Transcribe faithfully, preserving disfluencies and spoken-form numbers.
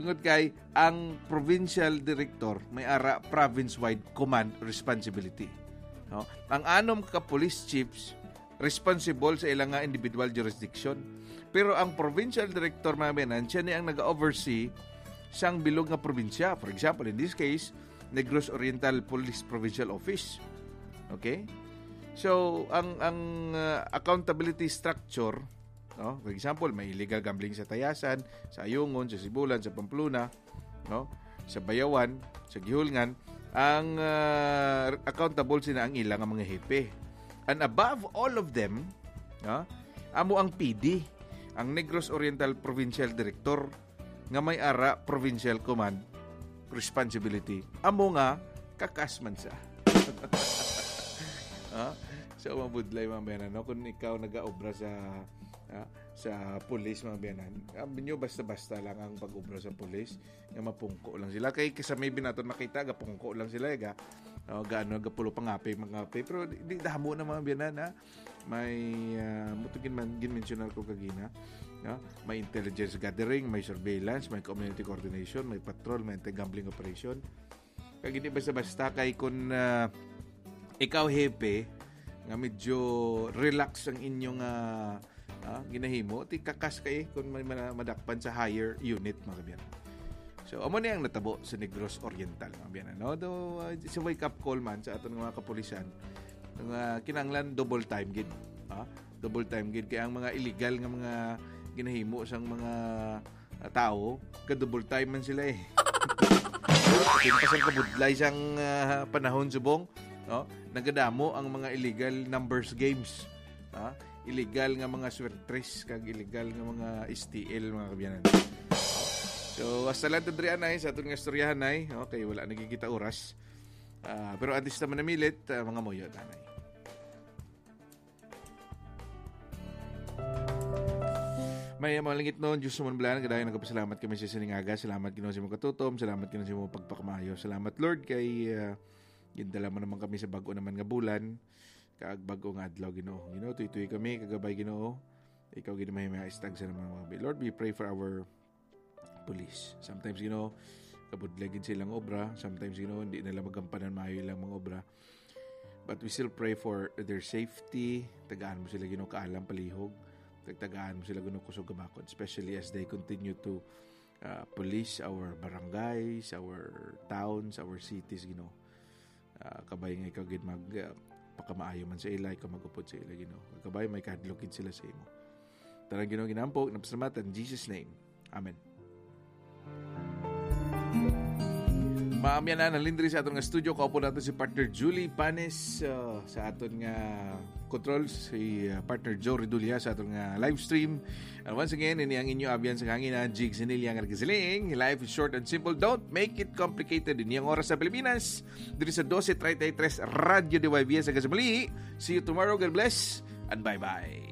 Tungod kay ang provincial director may ara province-wide command responsibility. No? Ang anom ka police chiefs responsible sa ilang nga individual jurisdiction. Pero ang provincial director, mga biyanan, siya ni ang nag-oversee sang bilog nga probinsya. For example, in this case, Negros Oriental Police Provincial Office. Okay? So, ang ang uh, accountability structure, no? For example, may illegal gambling sa Tayasan, sa Ayungon, sa Sibulan, sa Pamplona, no? Sa Bayawan, sa Gihulngan, ang uh, accountable sina ang ilang mga hepe. And above all of them, no? Amo ang P D, ang Negros Oriental Provincial Director, nga may ara provincial command responsibility. Amo nga kakas man sa. Ha? So, mabudlay, mga biyanan, no? Kung ikaw nagaobra sa, ha, sa pulis, mga biyanan, sabi nyo, basta-basta lang ang pag-obra sa pulis, nga mapungko lang sila. Kay sa maybe naton makita, gapungko lang sila, eh, ga, oh, gaano, gapulo pangapi, mangapi. Pero di, di damo na, mga biyanan, ha? May, ah, mo to ginman-, ginmensyonar ko kagina, no? May intelligence gathering, may surveillance, may community coordination, may patrol, may anti-gambling operation. Kag hindi basta-basta kay kun, ah, ikaw hepe nga medyo relax ang inyong, ah, ah, ginahimo, ti kakas kay kun may mana-, madakpan sa higher unit, mga kabyan. So, amo ni ang natabo sa Negros Oriental, mga kabyan, no? Do, ah, sa wake-up call man sa aton nga mga kapulisan, nga kinahanglan double time gid, ha? Double time gid kay ang mga illegal nga mga ginahimo sang mga, ah, tawo, ka double time man sila, eh. Kung pasal kabudlay sang, ah, panahon subong, no? Nagadamo ang mga illegal numbers games, ha? Illegal nga mga swertres kag illegal nga mga S T L, mga kabyanan. So, hasta lang to diri, anay, sa aton nga istoryahan, nay. Okay, wala nagkikita oras. Ah, pero at least naman namilit, ah, mga muyo, tanay. May mga langit nun, Diyos naman bala, nagadayon nagpasalamat kami sa sining aga. Salamat, Ginoo, sa imong katutom. Salamat, Ginoo, sa imong pagpakamaayo. Salamat, Lord, kay, ah, gindala mo naman kami sa bag-o naman nga bulan. Kag bag-o nga adlaw, Ginoo. Ginoo, tuytoy kami, kagabay, Ginoo. Ikaw, Ginoo, may mga istag sa naman mga bi-, Lord, we pray for our police. Sometimes, you know, kabudlay gid silang obra. Sometimes, you know, hindi nila magampanan maayo ilang mga obra. But we still pray for their safety. Tagaan mo sila, you know, kaalam, palihog. Tag-, tagaan mo sila, you know, kusog kamakod. Especially as they continue to, uh, police our barangays, our towns, our cities, you know. Ah, kabay nga ikaw gid mag, ah, pakamaayo man sa ila, ikaw mag-upod sa ila, Ginoo. Kabay may kahadlok gid sila sa imo. Tanan, Ginoo, ginampo, napasalamat in Jesus' name. Amen. Maamyan na, nalindri sa aton nga studio. Kaupo nato si partner Julie Panes, ah, sa aton nga controls, si, ah, partner Joe Redulia sa aton nga live stream. And once again, ini ang inyo abyan sa hangin na Jigs Hinilia nga nagasiling, life is short and simple. Don't make it complicated. Ini ang oras sa Pilipinas. Diri sa dose treinta y tres, Radyo D Y V S ang kasamali. See you tomorrow. God bless and bye-bye.